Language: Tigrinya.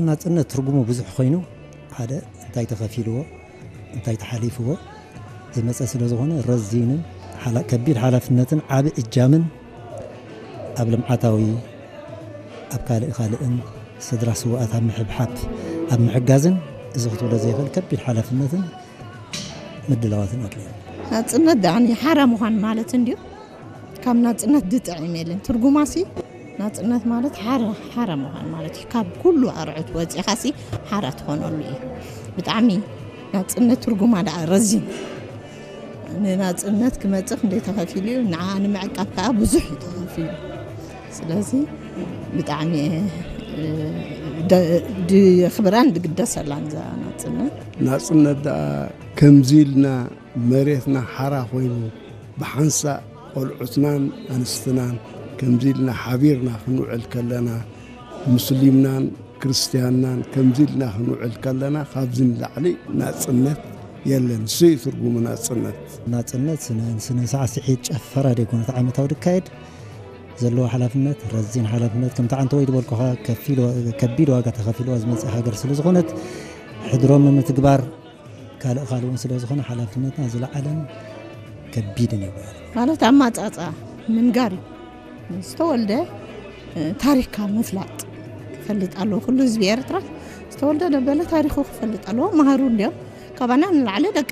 ናጽነት ትርጉሙ ብዙሕ ኮይኑ፣ ሓደ እንታይ ተኸፊልዎ፣ እንታይ ተሓሊፍዎ ዝመጸ ስለ ዝኾነ፣ ረዚንን ሓላ-፣ ከቢድ ሓላፍነትን ዓቢ እጃምን ኣብ ልምዓታዊ፣ ኣብ ካልእ ካልእን ስድራ ስውኣት ኣብ ምሕብሓብ፣ ኣብ ምሕጋዝን፣ እዚ ክትብሎ ዘይኽእል ከቢድ ሓላፍነትን ምድላዋትን ኣድልዩ። ናጽነት ደኣኒ ሓራ ምዃን ማለት እንድዩ። ካብ ናጽነት ድጥዕም የለን። ትርጉማሲ ናጽነት ማለት ሓራ፣ ሓራ ምዃን ማለት እዩ። ካብ ኩሉ ኣርዑት ወጺኻሲ ሓራ ትኾነሉ እዩ። ብጣዕሚ ናጽነት ትርጉማ ደኣ ረዚን። ንናጽነት ክመጽእ ክንደይ ተኸፊሉ እዩ፣ ንዓ ንምዕቃብ ከኣ ብዙሕ እዩ ተኸፊሉ። ስለዚ ብጣዕሚ እየ፣ እ፣ ደ-፣ ድኽብራን ድግደሰላን እዛ ናጽነት። ናጽነት ደኣ ከምዚ ኢልና መሬትና ሓራ ኮይኑ ብሓንሳእ ቆልዑትናን ኣንስትናን ከምዚ ኢልና ሓቢርና ክንውዕል ከለና፣ ሙስሊምናን ክርስትያንናን ከምዚ ኢልና ክንውዕል ከለና፣ ካብዚ ንላዕሊ ናጽነት የለን። እሱ እዩ ትርጉሙ ናጽነት። ናጽነት ስነ፣ ስነ ሳዕስዒት ጨፈራ ደይኮነ፣ እቲ ዓመታዊ ድካየድ ዘለዎ ሓላፍነት፣ ረዚን ሓላፍነት፣ ከምቲ ዓንተወይ ዝበልኩኻ ከፊል ዋ-፣ ከቢድ ዋጋ ተኸፊልዋ ዝመጽእ ሃገር ስለ ዝኾነት፣ ሕድሮም ንምትግባር ካልእ ካልእ እውን ስለ ዝኾነ፣ ሓላፍነትና ዝለዓለን ከቢድን ይበሃል። ማለት ኣማጻጻ ምንጋር እዩ። ዝተወልደ፣ እ፣ ታሪኽካ ምፍላጥ ክፈልጥ ኣለዎ። ኩሉ ህዝቢ ኤርትራ ዝተወልደ ደበለ ታሪኹ ክፈልጥ ኣለዎ። መሃሩ እንድዮም። ካባና ንላዕሊ ደቂ